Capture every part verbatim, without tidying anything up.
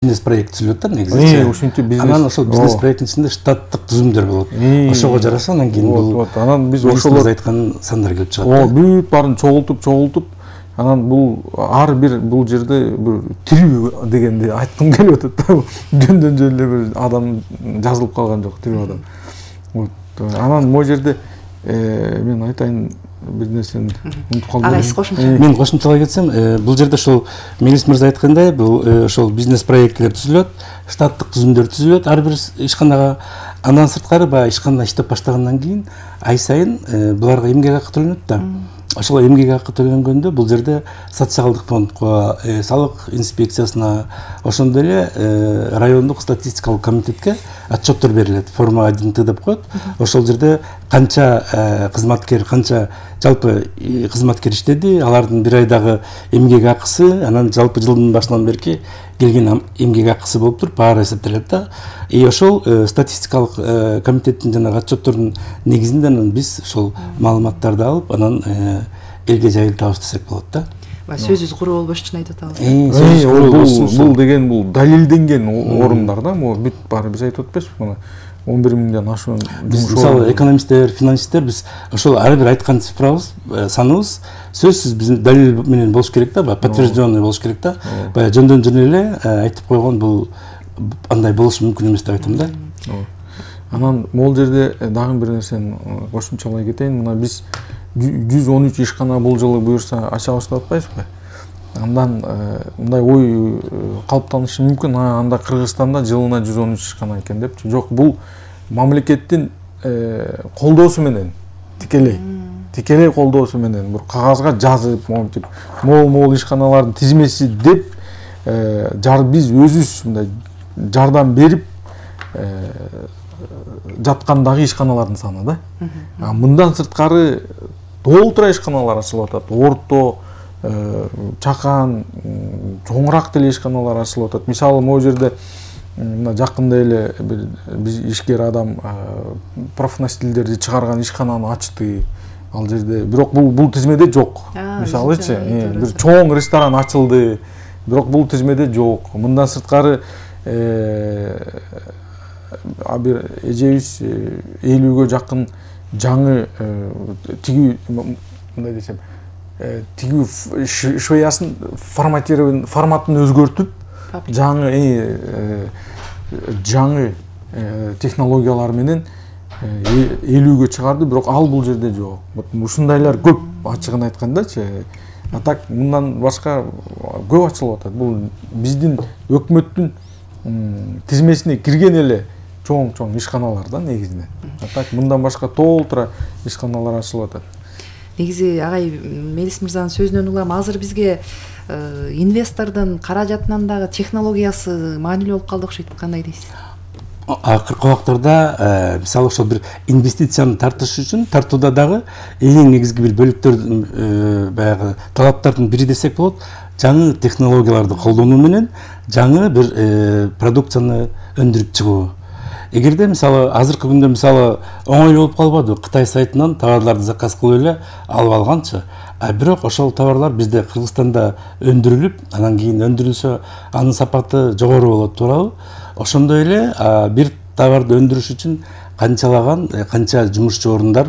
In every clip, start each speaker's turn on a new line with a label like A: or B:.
A: бизнес проект түзүлөт да негизи.
B: Ушинтип бизнес.
A: Анан ошол бизнес проекттин ичинде штаттык түзүмдөр болот. Ошого жараша анан кийин бул
B: анан биз
A: ошолор айткан сандар келип чыгат.
B: О, бүт баарын чогултуп, чогултуп анан бул ар бир бул жерде бир тирүү дегенди айткым келип атат да. Жөндөн жөн эле бир адам жазылып калган жок, тирүү адам. Вот. Анан могу жерде мен айтайын бир нерсени унутуп калдым.
C: Ага, сиз кошумча.
A: Мен кошумчалай кетсем, бул жерде ошол Мелис мырза айткандай, бул ошол бизнес проектлер түзүлөт, штаттык түзүмдөр түзүлөт ар бир ишканага. Андан сырткары баягы ишкана иштеп баштагандан кийин ай сайын буларга эмгек акы төлөнөт да. Ошол эмгек акы төлөнгөндө бул жерде социалдык фондко, салык инспекциясына, ошондой эле райондук статистикалык комитетке отчеттор берилет. Форма один Т деп коет. Ошол жерде канча кызматкер, канча жалпы кызматкер иштеди, алардын бир айдагы эмгек акысы, анан жалпы жылдын башынан берки келген эмгек акысы болуп туруп баары эсептелет да. И ошол статистикалык комитеттин жана отчеттордун негизинде анан биз ошол маалыматтарды алып, анан элге жайылтабыз десек болот да.
C: Сөзүбүз куру болбош үчүн айтып атабыз.
B: Бул деген бул далилденген орундар да, могу бүт баары биз айтып атпайбызбы мына он бир миңден ашуун.
A: Мисалы экономисттер, финансисттер биз ошол ар бир айткан цифрабыз, саныбыз сөзсүз биздин далил менен болуш керек да, подтвержденный болуш керек да. Баягы жөндөн жөн эле айтып койгон бул андай болушу мүмкүн эмес деп айтам да.
B: Анан могул жерде дагы бир нерсени кошумчалай кетейин. Мына биз жүз он үч ишкана бул жылы буюрса ачабыз деп атпайбызбы? Андан мындай ой калыптанышы мүмкүн. Анда Кыргызстанда жылына жүз он үч ишкана экен депчи. Жок, бул мамлекеттин колдоосу менен тикелей. Тикелей колдоосу менен бир кагазга жазып, монтип, могул-могул ишканалардын тизмеси деп биз өзүбүз мындай жардам берип жаткандагы ишканалардын саны да. Мындан сырткары толтура ишканалар ачылып атат. Орто, чакан, чоңураак деле ишканалар ачылып атат. Мисалы могу жерде мына жакында эле бир биз ишкер адам профнастилдерди чыгарган ишкананы ачты. Ал жерде бирок бул бул тизмеде жок. Мисалычы, бир чоң ресторан ачылды. Бирок бул тизмеде жок. Мындан сырткары а бир эжебиз элүүгө жакын жаңы тигүү мындай десем, тигүү швеясын форматирован форматын өзгөртүп, жаңы жаңы технологиялар менен элүүгө чыгарды, бирок ал бул жерде жок. Ушундайлар көп, ачыгын айткандачы. А так мындан башка көп ачылып атат. Бул биздин өкмөттүн тизмесине кирген эле чоң-чоң ишканалар да негизинен. А так мындан башка толтура ишканалар ачылып атат.
C: Негизи агай Мелис мырзанын сөзүнөн улам азыр бизге инвестордун каражатынан дагы технологиясы маанилүү болуп калды окшойт. Кандай дейсиз?
A: Акыркы убактарда мисалы ошол бир инвестицияны тартыш үчүн тартууда дагы эң негизги бир бөлүктөр баягы талаптардын бири десек болот, жаңы технологияларды колдонуу менен жаңы бир продукцияны өндүрүп чыгуу. Эгерде мисалы азыркы күндө мисалы оңой болуп калбады, Кытай сайтынан товарларды заказ кылып эле алып алганчы. А бирок ошол товарлар бизде Кыргызстанда өндүрүлүп, анан кийин өндүрүлсө анын сапаты жогору болот, туурабы? Ошондой эле бир товарды өндүрүш үчүн канчалаган, канча жумушчу орундар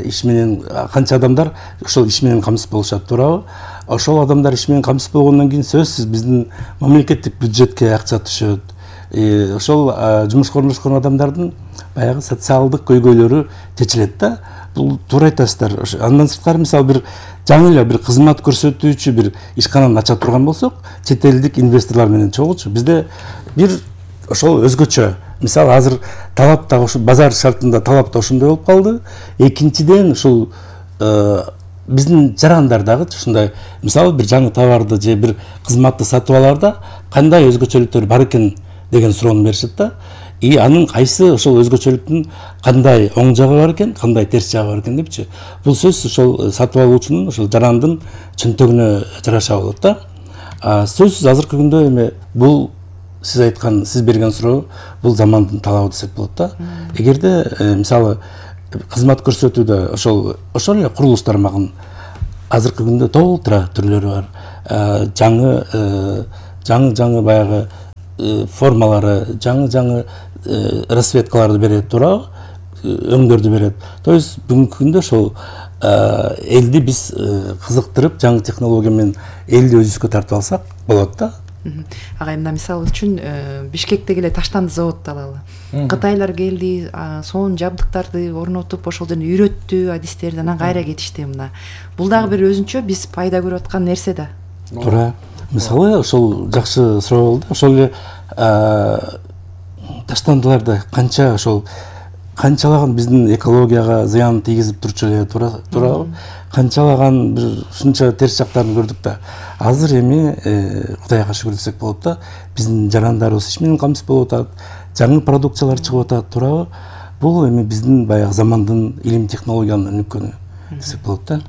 A: иш менен, канча адамдар ошол иш менен камсыз болушат, туурабы? Ошол адамдар иш менен камсыз болгондон кийин сөзсүз биздин мамлекеттик бюджетке акча түшөт. Ошол жумушка орношкон адамдардын баягы социалдык көйгөйлөрү чечилет да. Бул туура айтасыздар. Андан сырткары мисалы бир жаңы эле бир кызмат көрсөтүүчү бир ишкананы ача турган болсок, чет элдик инвесторлор менен чогулчу. Бизде бир ошол өзгөчө. Мисалы азыр талап да ошо базар шартында талап да ошондой болуп калды. Экинчиден ушул биздин жарандар дагы ушундай мисалы бир жаңы товарды же бир кызматты сатып алаарда кандай өзгөчөлүктөр бар экен деген суроону беришет да. И анын кайсы ошол өзгөчөлүктүн кандай оң жагы бар экен, кандай терс жагы бар экен депчи. Бул сөзсүз ошол сатып алуучунун ошол жарандын чөнтөгүнө жараша болот да. Сөзсүз азыркы күндө эме бул сиз айткан, сиз берген суроо бул замандын талабы десек болот да. Эгерде мисалы кызмат көрсөтүүдө ошол ошол эле курулуш тармагын азыркы күндө толтура түрлөрү бар. Жаңы жаңы жаңы баягы формалары, жаңы жаңы расцветкаларды берет туурабы, өңдөрдү берет. То есть бүгүнкү күндө ошол элди биз кызыктырып, жаңы технология менен элди өзүбүзгө тартып алсак болот да.
C: Агай, мына мисал үчүн Бишкектеги эле таштанды заводду алалы. Кытайлар келди, сонун жабдыктарды орнотуп, ошол жерде үйрөттү, адистерди, анан кайра кетишти. Мына бул дагы бир өзүнчө биз пайда көрүп аткан нерсе да.
A: Туура. Мисалы ошол жакшы суроо болду. Ошол эле таштандыларды канча ошол канчалаган биздин экологияга зыян тийгизип турчу эле, туурабы? Канчалаган бир ушунча терс жактарын көрдүк да. Азыр эми Кудайга шүгүр десек болот да, биздин жарандарыбыз иш менен камсыз болуп атат, жаңы продукциялар чыгып атат, туурабы? Бул эми биздин баягы замандын илим технологиянын өнүккөнү десек болот да.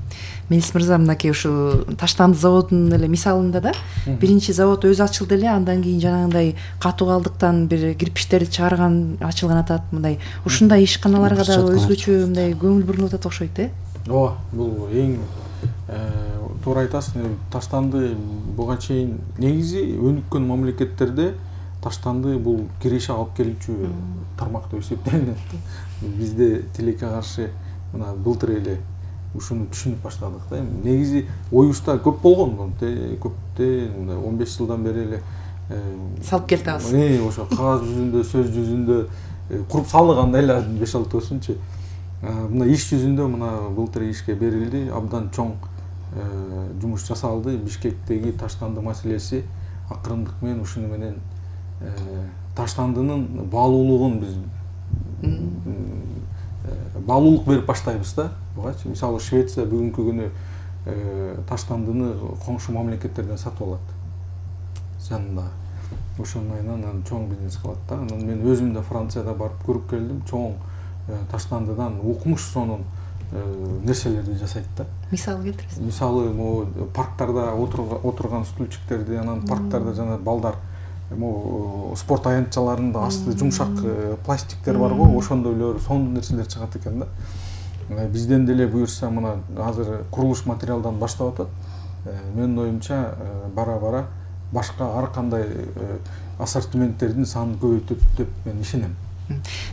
C: Мелис мырза, мынакей ушу таштанды заводунун эле мисалында да, биринчи завод өзү ачылды эле, андан кийин жанагындай катуу калдыктан бир кирпичтерди чыгарган ачылган атат, мындай ушундай ишканаларга дагы өзгөчө мындай көңүл бурулуп атат окшойт, э?
B: Ооба, бул эң туура айтасыз. Таштанды буга чейин негизи өнүккөн мамлекеттерде таштанды бул киреше алып келүүчү тармак деп эсептелинет. Бизде тилекке каршы мына былтыр эле ушуну түшүнүп баштадык да. Негизи оюбузда көп болгон, көптө мындай он беш жылдан бери эле
C: салып келатабыз.
B: Э, ошо кагаз жүзүндө, сөз жүзүндө куруп салдык, анда эле беш алтыосунчу. Мына иш жүзүндө мына былтыр ишке берилди, абдан чоң жумуш жасалды. Бишкектеги таштанды маселеси акырындык менен ушуну менен таштандынын баалуулугун биз баалуулук берип баштайбыз да. Бугачы мисалы Швеция бүгүнкү күнү таштандыны коңшу мамлекеттерден сатып алат. Жанында. Ошондой анан чоң бизнес кылат да. Анан мен өзүм да Францияда барып көрүп келдим. Чоң таштандыдан укмуш сонун нерселерди жасайт да.
C: Мисал келтиресиз?
B: Мисалы, могу парктарда отурган стульчиктерди, анан парктарда жана балдар могу спорт аянтчаларында асты жумшак пластиктер бар го, ошондой эле сонун нерселер чыгат экен да. Бизден деле буюрса мына азыр курулуш материалдан баштап атат. Менин оюмча бара-бара башка ар кандай ассортименттердин санын көбөйтөт деп мен ишенем.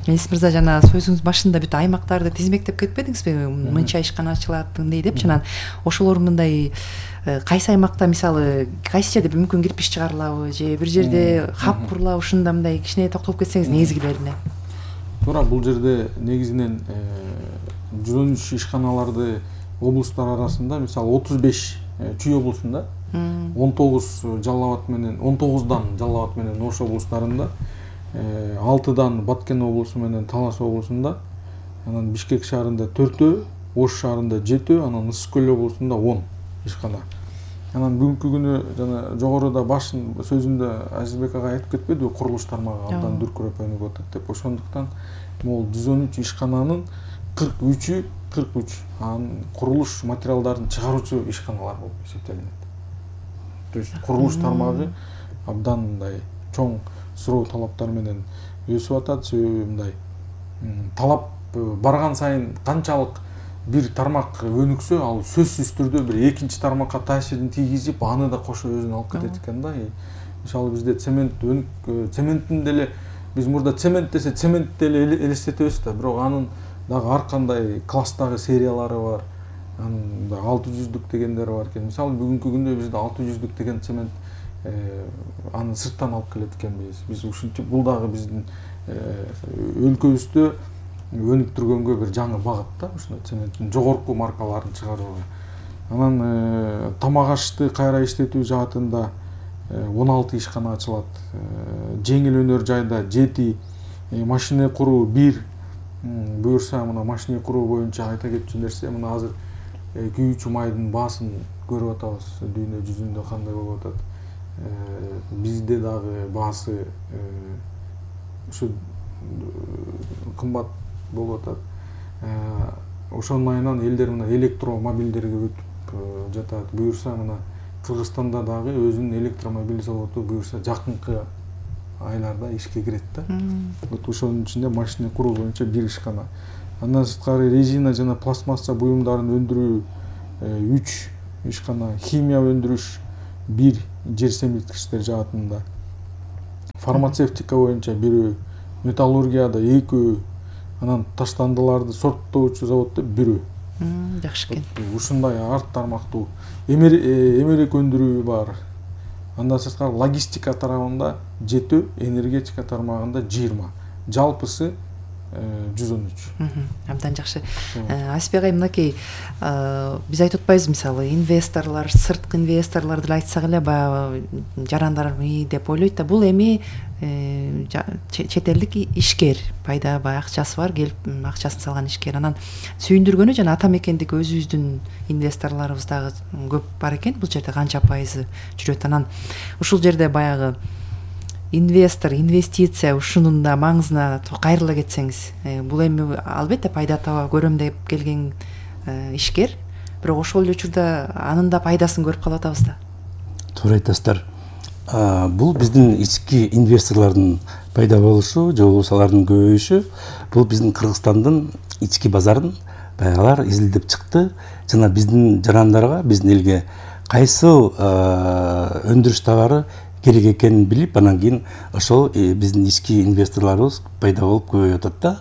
C: Мелис мырза, жана сөзүңүз башында бүт аймактарды тизмектеп кетпедиңизби? Мынча ишкана ачылат, мындай деп, жана ошолор мындай кайсы аймакта мисалы кайсы жерде мүмкүн кирпич чыгарылабы же бир жерде хаб курулабы, ушунда мындай кичине токтолуп кетсеңиз негизгилерине.
B: Туура, бул жерде негизинен жүз он үч ишканаларды облустар арасында мисалы отуз беш Чүй облусунда, он тогуз Жалал Абад менен он тогуздан Жалал Абад менен Ош облустарында, алтыдан Баткен облусу менен Талас облусунда, анан Бишкек шаарында төртөө, Ош шаарында жетөө, анан Ысык Көл облусунда он ишкана. Анан бүгүнкү күнү жана жогоруда башын сөзүндө Азизбек агай айтып кетпедиби, курулуш тармагы абдан дүркүрөп өнүгүп атат деп. Ошондуктан могул жүз он үч ишкананын кырк үчү кырк үч анын курулуш материалдарын чыгаруучу ишканалар болуп эсептелинет. То есть курулуш тармагы абдан мындай чоң суроо талаптар менен өсүп атат. Себеби мындай талап барган сайын канчалык бир тармак өнүксө, ал сөзсүз түрдө бир экинчи тармакка таасирин тийгизип, аны да кошо өзүнө алып кетет экен да. Мисалы бизде цемент өнүк цементтин деле биз мурда цемент десе цемент деле элестетебиз да, бирок анын дагы ар кандай класстагы сериялары бар. Анын да алты жүздүк дегендер бар экен. Мисалы бүгүнкү күндө бизде алты жүздүк деген цемент аны сырттан алып келет экенбиз. Биз ушунча бул дагы биздин өлкөбүздө өнүктүргөнгө бир жаңы багыт да, ушундай цементтин жогорку маркаларын чыгарууга. Анан тамак ашты кайра иштетүү жаатында он алты ишкана ачылат. Жеңил өнөр жайда жети, машина куруу бир. Буюрса мына машина куруу боюнча айта кетчү нерсе, мына азыр күйүүчү майдын баасын көрүп атабыз, дүйнө жүзүндө кандай болуп атат. Бизде дагы баасы ушу кымбат болуп атат. Ошонун айынан элдер мына электромобилдерге өтүп жатат. Буюрса мына Кыргызстанда дагы өзүнүн электромобиль заводу буюрса жакынкы айларда ишке кирет да. Вот ошонун ичинде машина куруу боюнча бир ишкана. Андан сырткары резина жана пластмасса буюмдарын өндүрүү үч ишкана, химия өндүрүш бир жер семирткичтер жаатында. фармацевтика боюнча бирөө, металлургияда экөө, анан таштандыларды сорттоочу заводдо бирөө.
C: Жакшы экен.
B: Ушундай арт тармактуу эмерек өндүрүү бар. Андан сырткары логистика тарабында жети, энергетика тармагында жыйырма. Жалпысы жүз он үч.
C: Абдан жакшы. Асбек ай, мынакей биз айтып атпайбызбы, мисалы инвесторлор, сырткы инвесторлор деле айтсак эле баягы жарандар мый деп ойлойт да, бул эми чет элдик ишкер, пайда баягы акчасы бар, келип акчасын салган ишкер. Анан сүйүндүргөнү жана ата мекендик өзүбүздүн инвесторлорубуз дагы көп бар экен. Бул жерде канча пайызы жүрөт? Анан ушул жерде баягы инвестор, инвестиция ушунун да маңызына кайрыла кетсеңиз, бул эми албетте пайда таба көрөм деп келген ишкер, бирок ошол эле учурда анын да пайдасын көрүп калып атабыз да.
A: Туура айтасыздар. Бул биздин ички инвесторлордун пайда болушу, же болбосо алардын көбөйүшү, бул биздин Кыргызстандын ички базарын баягылар изилдеп чыкты жана биздин жарандарга, биздин элге кайсы өндүрүш товары керек экенин билип, анан кийин ошол биздин ички инвесторлорубуз пайда болуп көбөйүп атат да.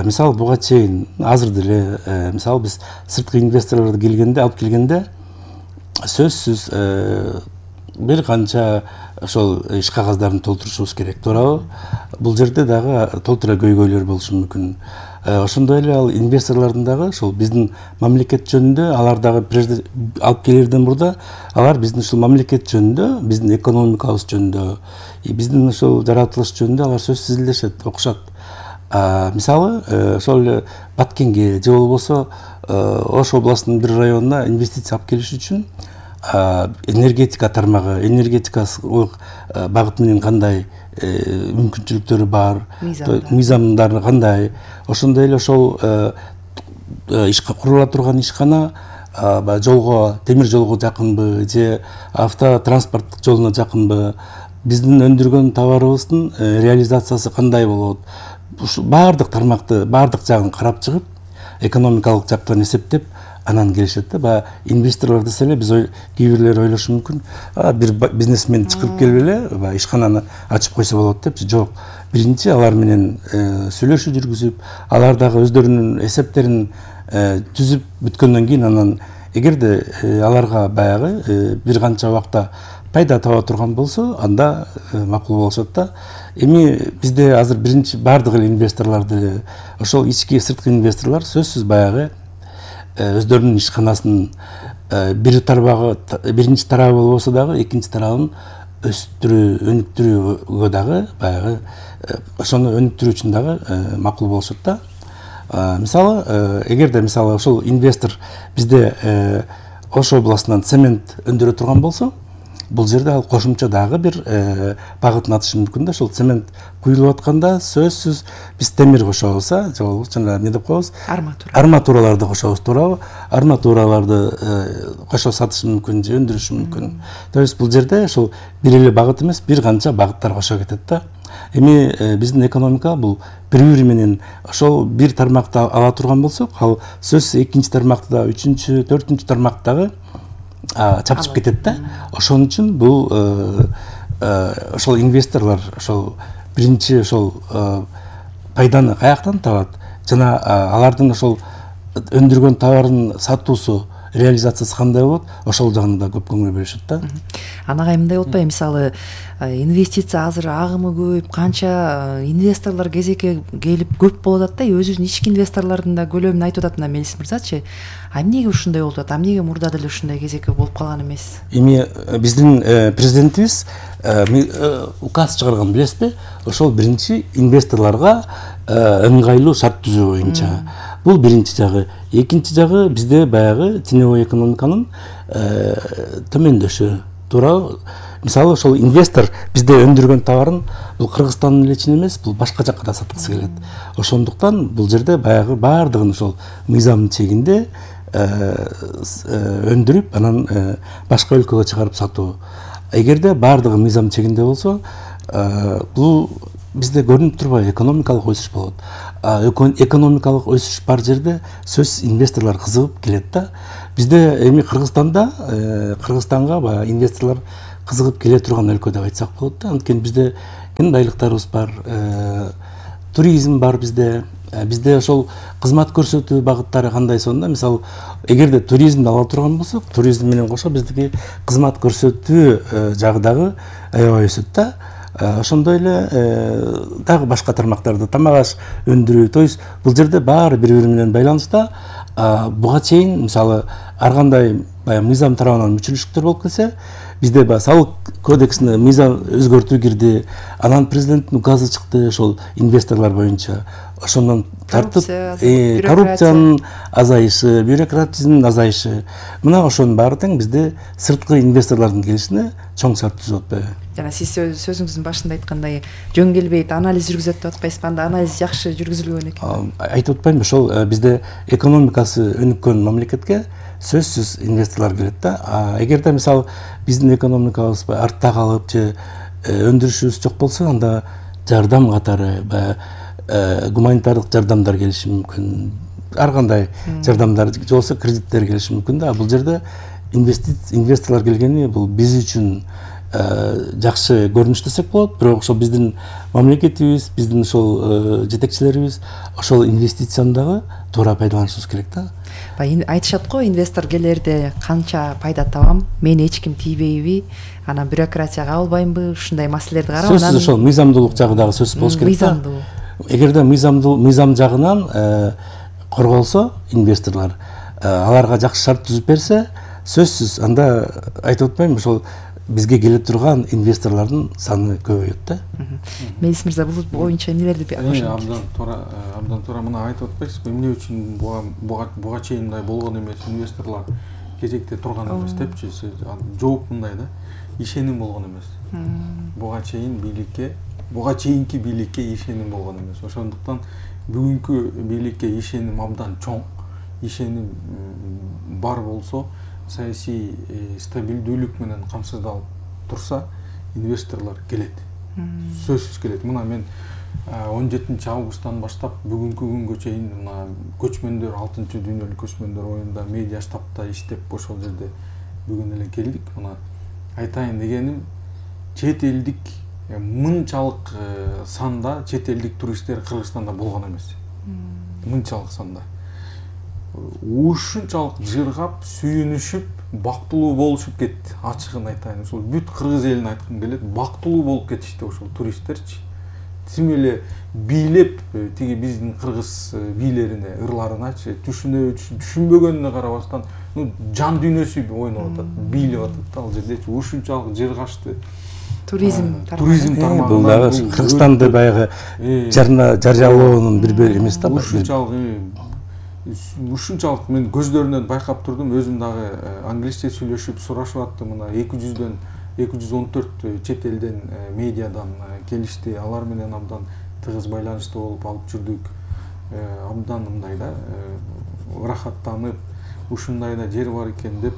A: Мисалы буга чейин азыр деле мисалы биз сырткы инвесторлорду келгенде, алып келгенде сөзсүз бир канча ошол иш кагаздарын толтурушубуз керек, туурабы? Бул жерде дагы толтура көйгөйлөр болушу мүмкүн. Ошондой эле ал инвесторлордун дагы ошол биздин мамлекет жөнүндө, алар дагы прежде алып келерден мурда алар биздин ушул мамлекет жөнүндө, биздин экономикабыз жөнүндө, биздин ошол жаратылыш жөнүндө алар сөзсүз изилдешет, окушат. Мисалы, ошол эле Баткенге же болбосо Ош областынын бир районуна инвестиция алып келиш үчүн энергетика тармагы, энергетикалык багыт менен кандай мүмкүнчүлүктөрү бар, мыйзамдары кандай, ошондой эле ошол курула турган ишкана жолго, темир жолго жакынбы же автотранспорттук жолуна жакынбы, биздин өндүргөн товарыбыздын реализациясы кандай болот, ушу баардык тармакты, баардык жагын карап чыгып, экономикалык жактан эсептеп анан келишет да. Баягы инвесторлор десе эле биз кээ бирлер ойлошу мүмкүн, бир бизнесмен чакырып келип эле баягы ишкананы ачып койсо болот депчи. Жок, биринчи алар менен сүйлөшүү жүргүзүп, алар дагы өздөрүнүн эсептерин түзүп бүткөндөн кийин анан эгерде аларга баягы бир канча убакта пайда таба турган болсо, анда макул болушат да. Эми бизде азыр биринчи баардык эле инвесторлор деле ошол ички сырткы инвесторлор сөзсүз баягы өздөрүнүн ишканасынын бир тарабы, биринчи тарабы болбосо дагы экинчи тарабын өстүрүү, өнүктүрүүгө дагы баягы ошону өнүктүрүү үчүн дагы макул болушат да. Мисалы, эгерде мисалы ошол инвестор бизде Ош областынан цемент өндүрө турган болсо, бул жерде ал кошумча дагы бир багытын атышы мүмкүн да. Ошол цемент куюлуп атканда сөзсүз биз темир кошобуз, же болбосо жана эмне деп коебуз? Арматура. Арматураларды кошобуз, туурабы? Арматураларды кошо сатышы мүмкүн же өндүрүшү мүмкүн. То есть бул жерде ошол бир эле багыт эмес, бир канча багыттар кошо кетет да. Эми биздин экономика бул бири-бири менен ошол бир тармакты ала турган болсок, ал сөзсүз экинчи тармакты да, үчүнчү, төртүнчү тармактагы чапчып кетет да. Ошон үчүн бул ошол инвесторлор ошол биринчи ошол пайданы каяктан табат жана алардын ошол өндүргөн товарын сатуусу, реализациясы кандай болот, ошол жагына да көп көңүл бөлүшөт да.
C: Анагай мындай болуп атпайбы, мисалы инвестиция азыр агымы көп, канча инвесторлор кезекке келип көп болуп атат да, өзүбүздүн ички инвесторлордун да көлөмүн айтып атат мына Мелис мырзачы. А эмнеге ушундай болуп атат? Эмнеге мурда деле ушундай кезекке болуп калган эмес?
A: Эми биздин президентибиз указ чыгарган, билесизби? Ошол биринчи инвесторлорго ыңгайлуу шарт түзүү боюнча. Бул биринчи жагы. Экинчи жагы бизде баягы теневой экономиканын төмөндөшү. Туурабы? Мисалы ошол инвестор бизде өндүргөн товарын бул Кыргызстандын эле ичинде эмес, бул башка жакка да саткысы келет. Ошондуктан бул жерде баягы баардыгын ошол мыйзамдын чегинде өндүрүп, анан башка өлкөгө чыгарып сатуу. Эгерде баардыгы мыйзам чегинде болсо, бул бизде көрүнүп турбайбы, экономикалык өсүш болот. Экономикалык өсүш бар жерде сөз инвесторлор кызыгып келет да. Бизде эми Кыргызстанда, Кыргызстанга баягы инвесторлор кызыгып келе турган өлкө деп айтсак болот да. Анткени бизде кен байлыктарыбыз бар, туризм бар бизде. Бизде ошол кызмат көрсөтүү багыттары кандай сонда, мисалы, эгерде туризмди ала турган болсок, туризм менен кошо биздики кызмат көрсөтүү жагы дагы аябай өсөт да. Ошондой эле дагы башка тармактарды, тамак аш өндүрүү, то есть бул жерде баары бири-бири менен байланышта. Буга чейин мисалы ар кандай баягы мыйзам тарабынан мүчүлүштүктөр болуп келсе, бизде баягы салык кодексине мыйзам өзгөртүү кирди, анан президенттин указы чыкты ошол инвесторлор боюнча. Ошондон тартып коррупциянын азайышы, бюрократизмдин азайышы, мына ошонун баары тең бизде сырткы инвесторлордун келишине чоң шарт түзүп атпайбы?
C: Жана сиз сөзүңүздүн башында айткандай жөн келбейт, анализ жүргүзөт деп атпайсызбы? Анда анализ жакшы жүргүзүлгөн экен.
A: Айтып атпаймынбы, ошол бизде экономикасы өнүккөн мамлекетке сөзсүз инвесторлор келет да. Эгерде мисалы биздин экономикабыз артта калып же өндүрүшүбүз жок болсо, анда жардам катары баягы гуманитардык жардамдар келиши мүмкүн. Ар кандай жардамдар же болбосо кредиттер келиши мүмкүн да. Бул жерде инвесторлор келгени бул биз үчүн жакшы көрүнүш десек болот, бирок ошол биздин мамлекетибиз, биздин ошол жетекчилерибиз ошол инвестицияны дагы туура пайдаланышыбыз керек да.
C: Айтышат го, инвестор келерде канча пайда табам, мени эч ким тийбейби, анан бюрократия кабылбайбы, ушундай маселелерди карап,
A: анан сөзсүз ошол мыйзамдуулук жагы дагы сөзсүз болуш керек да. Эгерде мыйзам жагынан корголсо инвесторлор, аларга жакшы шарт түзүп берсе, сөзсүз анда айтып атпаймынбы, ошол бизге келе турган инвесторлордун саны көбөйөт да.
C: Мелис мырза, бул боюнча эмнелерди
B: кошосуз? Абдан туура, абдан туура мына айтып атпайсызбы, эмне үчүн буга буга чейин мындай болгон эмес, инвесторлор кезекте турган эмес депчи? Жооп мындай да, ишеним болгон эмес. Буга чейин бийликке, буга чейинки бийликке ишеним болгон эмес. Ошондуктан бүгүнкү бийликке ишеним абдан чоң. Ишеним бар болсо, саясий стабилдүүлүк менен камсыздалып турса, инвесторлор келет. Сөзсүз келет. Мына мен он жетинчи августтан баштап бүгүнкү күнгө чейин мына көчмөндөр, алтынчы дүйнөлүк көчмөндөр оюнда медиа штабта иштеп ошол жерде бүгүн эле келдик. Мына айтайын дегеним, чет элдик мынчалык санда чет элдик туристтер Кыргызстанда болгон эмес. Мынчалык санда. Ушунчалык жыргап, сүйүнүшүп, бактылуу болушуп кетти. Ачыгын айтайын, ошол бүт кыргыз элин айткым келет, бактылуу болуп кетишти ошол туристтерчи. Тим эле бийлеп, тиги биздин кыргыз бийлерине, ырларыначы, түшүнө түшүнбөгөнүнө карабастан, ну жан дүйнөсү ойноп атат, бийлеп атат да ал жердечи. Ушунчалык жыргашты.
C: Туризм
B: туризм тармагында
A: бул дагы Кыргызстанды баягы жарыялоонун бир бөлүгү эмес да.
B: Ушунчалык ушунчалык мен көздөрүнөн байкап турдум, өзүм дагы англисче сүйлөшүп сурашып аттым. Мына эки жүздөн эки жүз он төрт чет элден медиадан келишти, алар менен абдан тыгыз байланышта болуп алып жүрдүк. Абдан мындай да ырахаттанып, ушундай да жер бар экен деп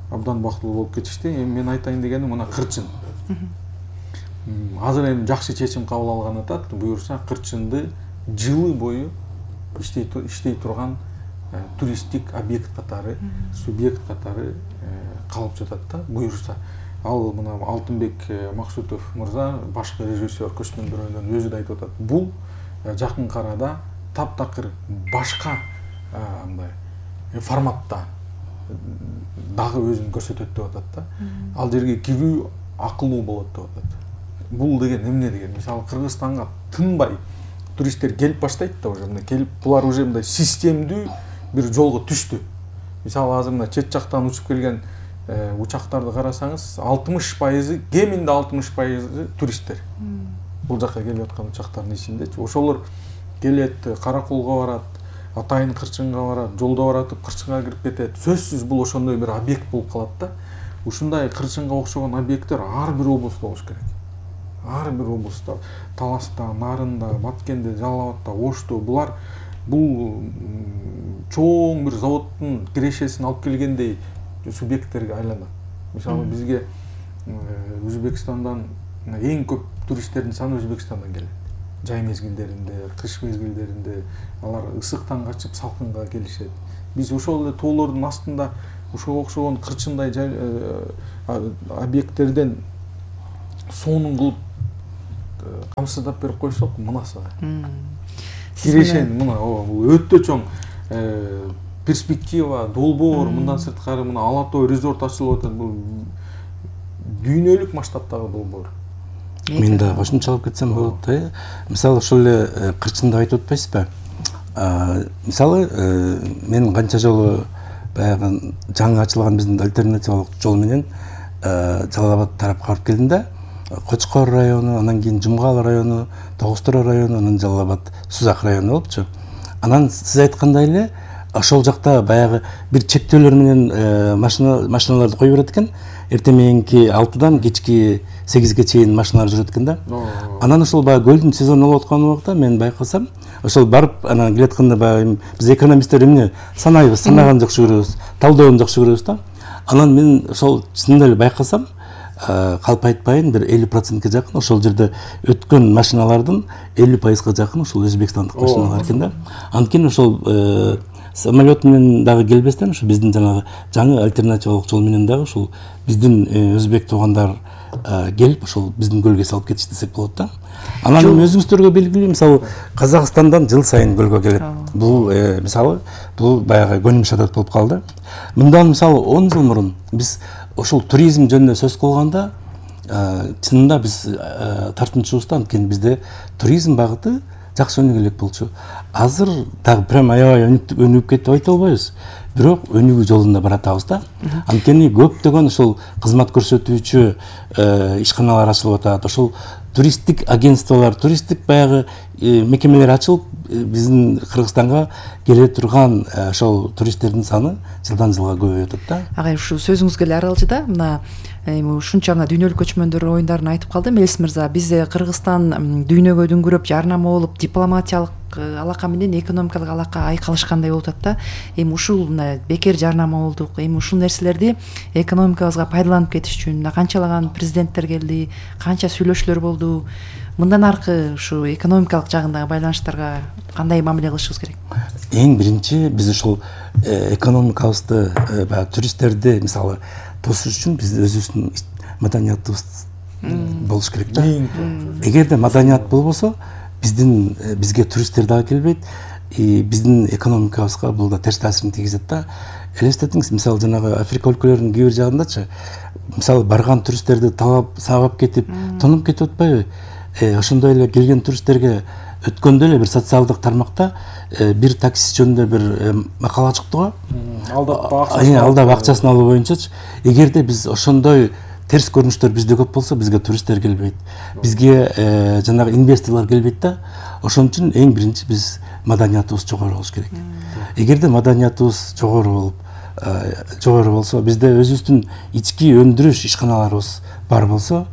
B: абдан бактылуу болуп кетишти. Эми мен айтайын дегеним мына Кырчын. Азыр эми жакшы чечим кабыл алган атат, буюрса Кырчынды жылы бою иштей иштей турган туристтик объект катары, субъект катары калып жатат да, буюрса. Ал мына Алтынбек Максутов мырза, башкы режиссер көчмөндөр оюнунун өзү да айтып атат. Бул жакын арада таптакыр башка мындай форматта дагы өзүн көрсөтөт деп атат да. Ал жерге кирүү акылуу болот деп атат. Бул деген эмне деген? Мисалы Кыргызстанга тынбай туристтер келип баштайт да, уже мына келип, булар уже мындай системдүү бир жолго түштү. Мисалы азыр мына чет жактан учуп келген учактарды карасаңыз, алтымыш пайызы, кеминде алтымыш пайызы туристтер. Бул жакка келип аткан учактардын ичиндечи. Ошолор келет, Караколго барат, Атайын Кырчынга барат, жолдо баратып Кырчынга кирип кетет. Сөзсүз бул ошондой бир объект болуп калат да. Ушундай Кырчынга окшогон объекттер ар бир облустта болуш керек. Ар бир облустта, Таласта, Нарында, Баткенде, Жалал абадта, Ошто, булар бул чоң бир заводдун кирешесин алып келгендей субъекттерге айланат. Мисалы бизге Өзбекстандан эң көп туристтердин саны Өзбекстандан келет. Жай мезгилдеринде, кыш мезгилдеринде алар ысыктан качып салкынга келишет. Биз ошол эле тоолордун астында ошого окшогон камсыздап берип койсок мынасыга кирешен мына ооба бул өтө чоң перспектива, долбоор, мындан сырткары мына Ала Тоо резорт ачылып атат. Бул дүйнөлүк масштабтагы долбоор.
A: Мен да кошумчалап кетсем болот да. Мисалы ошол эле кырчынды айтып атпайсызбы? Мисалы мен канча жолу баягы жаңы ачылган биздин альтернативалык жол менен Жалал Абад тарапка барып келдим да. Кочкор району, анан кийин Жумгал району, Тогустура району, анан Жалал Абад Сузак району болупчу. Анан сиз айткандай эле ошол жакта баягы бир чектөөлөр менен машина машиналарды коюп берет экен. Эртең мененки алтыдан кечки сегизге чейин машиналар жүрөт экен да. Анан ошол баягы көлдүн сезону болуп аткан убакта мен байкасам, ошол барып анан келатканда баягы биз экономисттер эмне санайбыз, санаган жакшы көрөбүз, талдоон жакшы көрөбүз да. Анан мен ошол чынында эле байкасам, калп айтпайын, бир элүү процентке жакын ошол жерде өткөн машиналардын элүү пайызга жакын ошол өзбекстандык машиналар экен да. Анткени ошол самолет менен дагы келбестен ошо биздин жанагы жаңы альтернативалык жол менен дагы ушул биздин өзбек туугандар келип ошол биздин көлгө салып кетиш десек болот да. Анан өзүңүздөргө белгилүү, мисалы Казакстандан жыл сайын көлгө келет. Бул мисалы бул баягы көнүм шадат болуп калды. Мындан мисалы он жыл мурун биз ошол туризм жөнүндө сөз кылганда чынында биз тартынчубуз, анткени бизде туризм багыты жакшы өнүгө элек болчу. Азыр дагы прям аябай өнүгүп кетти деп айта албайбыз. Бирок өнүгүү жолунда баратабыз да. Анткени көптөгөн ошол кызмат көрсөтүүчү ишканалар ачылып атат. Ошол туристтик агентстволор, туристтик баягы мекемелер ачылып, биздин Кыргызстанга келе турган ошол туристтердин саны жылдан жылга көбөйүп атат да.
C: Агай ушу сөзүңүзгө эле аралжы да, мына ушунча мына дүйнөлүк көчмөндөр оюндарын айтып калдым. Элис мырза, биз Кыргызстан дүйнөгө дүңгүрөп жарнама болуп, дипломатиялык алака менен экономикалык алака айкалышкандай болуп атат да. Эми ушул мына бекер жарнама болдук. Эми ушул нерселерди экономикабызга пайдаланып кетиш үчүн мына канчалаган президенттер келди, канча сүйлөшүүлөр болду. Мындан аркы ушу экономикалык жагындагы байланыштарга кандай мамиле кылышыбыз керек?
A: Эң биринчи биз ушул экономикабызды, баягы туристтерди мисалы тосуш үчүн биз өзүбүздүн маданиятыбыз болуш керек да. Эгерде маданият болбосо, биздин бизге туристтер дагы келбейт, и биздин экономикабызга бул да терс таасирин тийгизет да. Элестетиңиз, мисалы жанагы Африка өлкөлөрүнүн кээ бир жагындачы, мисалы барган туристтерди талап сабап кетип, тонуп кетип атпайбы? Ошондой эле келген туристтерге өткөндө эле бир социалдык тармакта бир такси жөнүндө бир макала чыкты го.
B: Алдап
A: алдап акчасын алуу боюнчачы. Эгерде биз ошондой терс көрүнүштөр бизде көп болсо, бизге туристтер келбейт. Бизге жанагы инвесторлор келбейт да. Ошон үчүн эң биринчи биз маданиятыбыз жогору болуш керек. Эгерде маданиятыбыз жогору болуп, жогору болсо, бизде өзүбүздүн ички өндүрүш ишканаларыбыз бар болсо,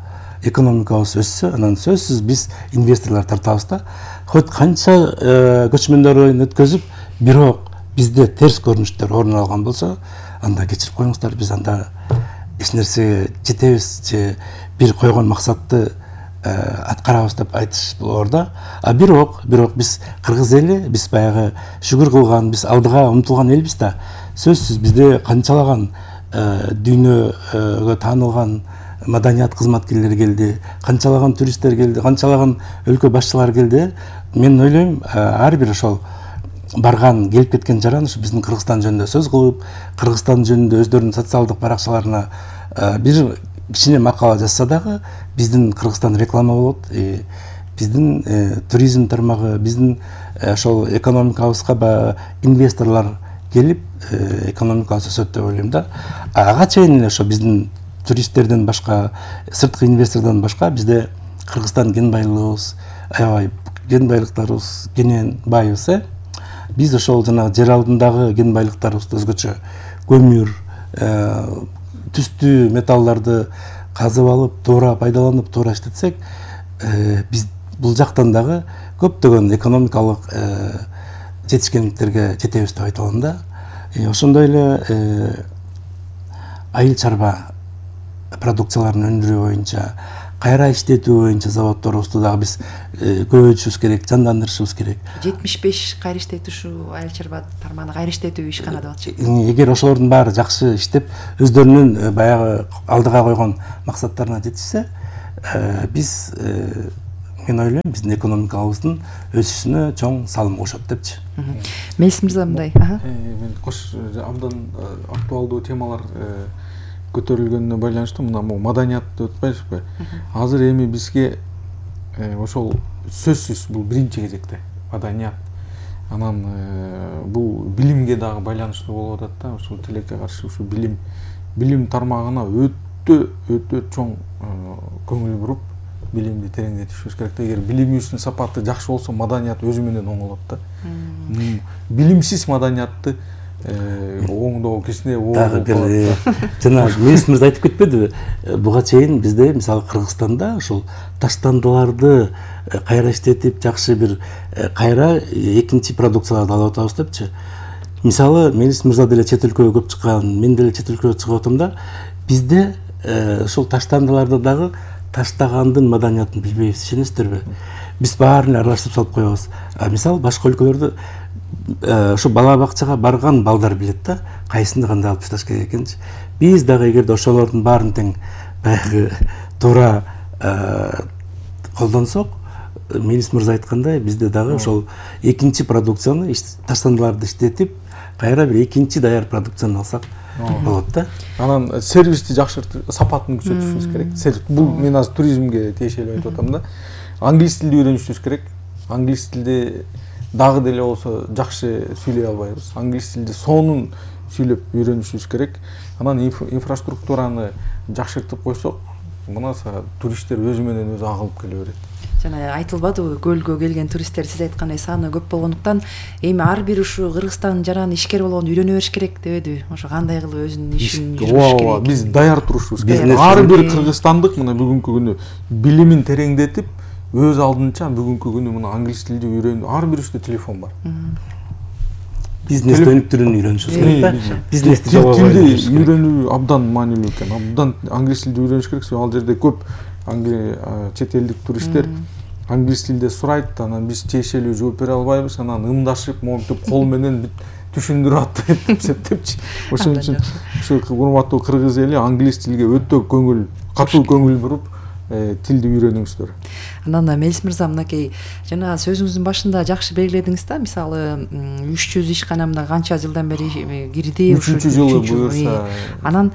A: экономикабыз өссө, анан сөзсүз биз инвесторлор тартабыз да. Хоть канча көчмөндөр оюн өткөзүп, бирок бизде терс көрүнүштөр орун алган болсо, анда кечирип коюңуздар, биз анда эч нерсеге жетебиз же бир койгон максатты аткарабыз деп айтыш болор да. А бирок, бирок биз кыргыз эли, биз баягы шүгүр кылган, биз алдыга умтулган элбиз да. Сөзсүз бизде канчалаган дүйнөгө таанылган маданият кызматкерлери келди, канчалаган туристтер келди, канчалаган өлкө башчылары келди. Мен ойлойм, ар бир ошол барган, келип кеткен жаран ушу биздин Кыргызстан жөнүндө сөз кылып, Кыргызстан жөнүндө өздөрүнүн социалдык баракчаларына бир кичине макала жазса дагы, биздин Кыргызстан реклама болот, биздин туризм тармагы, биздин ошол экономикабызга инвесторлор келип, экономикабыз өсөт деп ойлойм да. Ага чейин эле ошо биздин туристтерден башка, сырткы инвестордон башка бизде Кыргызстан кен байлыгыбыз, аябай кен байлыктарыбыз кенен байыбыз, э? Биз ошол жана жер алдындагы кен байлыктарыбызды өзгөчө көмүр, түстүү металлдарды казып алып, туура пайдаланып, туура иштетсек, биз бул жактан дагы көптөгөн экономикалык жетишкендиктерге жетебиз деп айта алам да. Ошондой эле айыл чарба продукцияларын өндүрүү боюнча, кайра иштетүү боюнча заводдорубузду дагы биз көбөйтүшүбүз керек, жандандырышыбыз керек.
C: жетимиш беш кайра иштетүүчү айыл чарба тармагына кайра иштетүү ишкана деп атышат.
A: Эгер ошолордун баары жакшы иштеп, өздөрүнүн баягы алдыга койгон максаттарына жетишсе, биз мен ойлойм биздин экономикабыздын өсүшүнө чоң салым кошот депчи.
C: Мелис мырза мындай.
B: Мен кош абдан актуалдуу темалар көтөрүлгөнүнө байланыштуу мына могу маданиятты өтпөйсүзбү? Азыр эми бизге ошол сөзсүз бул биринчи кезекте маданият. Анан бул билимге дагы байланыштуу болуп атат да, ушул тилекке каршы ушу билим билим тармагына өтө өтө чоң көңүл буруп билимди тереңдетишибиз керек да. Эгер билимибиздин сапаты жакшы болсо, маданият өзү менен оңолот да. Билимсиз маданиятты оңдоо кичине
A: дагы бир жана Мелис мырза айтып кетпедиби? Буга чейин бизде мисалы Кыргызстанда ушул таштандыларды кайра иштетип, жакшы бир кайра экинчи продукцияларды алып атабыз депчи. Мисалы Мелис мырза деле чет өлкөгө көп чыккан, мен деле чет өлкөгө чыгып атам да, бизде ушул таштандыларды дагы таштагандын маданиятын билбейбиз, ишенесиздерби? Биз баарын аралаштырып салып коебуз. Мисалы башка өлкөлөрдө ушу бала бакчага барган балдар билет да, кайсынды кандай алып ташташ керек экенчи. Биз дагы эгерде ошолордун баарын тең баягы туура колдонсок, Мелис мырза айткандай, бизде дагы ошол экинчи продукцияны, таштандыларды иштетип, кайра бир экинчи даяр продукцияны алсак болот да.
B: Анан сервисти жакшыртып, сапатын күчөтүшүбүз керек. Бул мен азыр туризмге тиешелүү айтып атам да. Англис тилди үйрөнүшүбүз керек. Англис тилди дагы деле болсо жакшы сүйлөй албайбыз. Англис тилди сонун сүйлөп үйрөнүшүбүз керек. Анан инфраструктураны жакшыртып койсок, мына туристтер өзү менен өзү агылып келе берет.
C: Жана айтылбадыбы, көлгө келген туристтер сиз айткандай саны көп болгондуктан эми ар бир ушу Кыргызстан жаран ишкер болгондо үйрөнө бериш керек дебедиби? Ошо кандай кылып өзүнүн ишин жүргүзүш керек?
B: Биз даяр турушубуз керек. Ар бир кыргызстандык мына бүгүнкү күнү билимин тереңдетип, өз алдынча бүгүнкү күнү мына англис тилди үйрөнүү, ар бирибизде телефон бар.
A: Бизнес өнүктүрүүнү үйрөнүшүбүз керек да. Бизнести
B: тилди үйрөнүү абдан маанилүү экен. Абдан англис тилди үйрөнүш керек. Ал жерде көп чет элдик туристтер англис тилде сурайт, анан биз тиешелүү жооп бере албайбыз, анан ымдашып, монтип кол менен түшүндүрүп атып эсептепчи. Ошон үчүн ушу урматтуу кыргыз эли англис тилге өтө көңүл, катуу көңүл буруп, тилди үйрөнүңүздөр.
C: Анан Мелис мырза, мынакей жана сөзүңүздүн башында жакшы белгиледиңиз да, мисалы үч жүз ишканамда канча жылдан бери кирди,
B: үчүнчү жылы буюрса.
C: Анан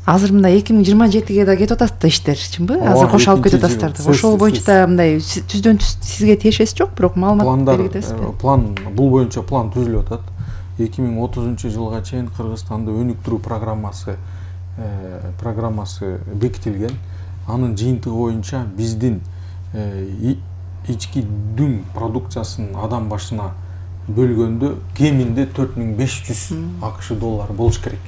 C: азыр мындай эки миң жыйырма жетиге да кетип атат да иштер, чынбы? Азыр кошо алып кетип атасыздар. Ошол боюнча да мындай түздөн түз сизге тиешеси жок, бирок маалымат бергилесизби?
B: План, бул боюнча план түзүлүп атат. эки миң отузунчу жылга чейин Кыргызстанда өнүктүрүү программасы программасы бекитилген. Анын жыйынтыгы боюнча биздин ички дүң продукциясын адам башына бөлгөндө кеминде төрт миң беш жүз АКШ доллары болуш керек.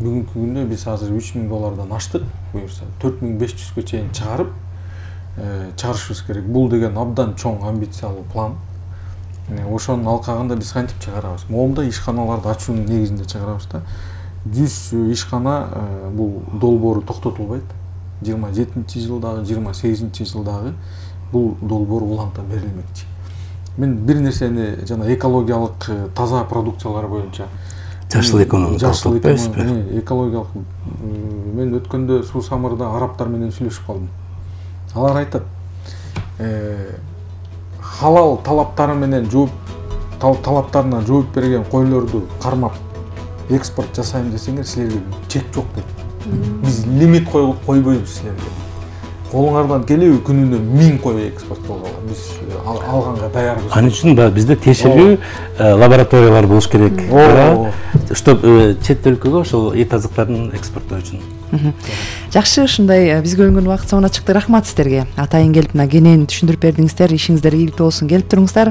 B: Бүгүнкү күндө биз азыр үч миң доллардан аштык, буюрса төрт миң беш жүзгө чейин чыгарып чыгарышыбыз керек. Бул деген абдан чоң амбициялуу план. Ошонун алкагында биз кантип чыгарабыз? Моомдо ишканаларды ачуунун негизинде чыгарабыз да. жүз ишкана бул долбоору токтотулбайт. жыйырма жетинчи жылдагы, жыйырма сегизинчи жылдагы бул долбоор уланта берилмекчи. Мен бир нерсени жана экологиялык таза продукциялар боюнча
A: жашыл экономика,
B: жашыл экономика, экологиялык мен өткөндө Суу Самырда арабтар менен сүйлөшүп калдым. Алар айтат, халал талаптары менен жооп талаптарына жооп берген койлорду кармап экспорт жасайм десеңер, силерге чек жок дейт. Биз лимит койбойбуз силерге. Колуңардан келеби күнүнө миң кой экспорттоого биз алганга даярбыз.
A: Анын үчүн бизде тиешелүү лабораториялар болуш керек. Чтоб чет өлкөгө ошол эт азыктарын экспорттоо үчүн.
C: Жакшы, ушундай бизге бөлүнгөн убакыт соңуна чыкты. Рахмат сиздерге. Атайын келип мына кенен түшүндүрүп бердиңиздер. Ишиңиздер ийгиликтүү болсун. Келип туруңуздар.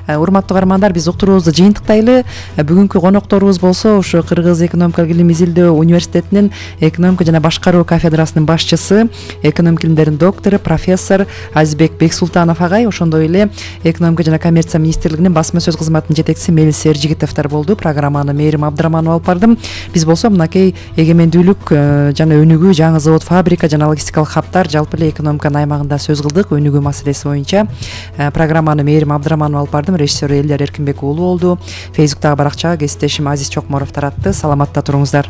C: Урматтуу каармандар, биз уктуруубузду жыйынтыктайлы. Бүгүнкү конокторубуз болсо ушу Кыргыз экономикалык илим изилдөө университетинин экономика жана башкаруу кафедрасынын башчысы, экономика илимдеринин доктору, профессор Азизбек Бексултанов агай, ошондой эле экономика жана коммерция министрлигинин басма сөз кызматынын жетекчиси Мелис Эржигитовдор болду. Программаны Мээрим Абдыраманова алып бардым. Биз болсо мынакей эгемендүүлүк жана өнүгүү, жаңы завод, фабрика жана логистикалык хабтар, жалпы эле экономиканын аймагында сөз кылдык. Өнүгүү маселеси боюнча программаны Мээрим Абдыраманова алып бардым. Режиссер Элдер Эркинбек уулу болду. Фейсбуктагы баракчага кесиптешим Азиз Чокморов таратты. Саламатта туруңуздар.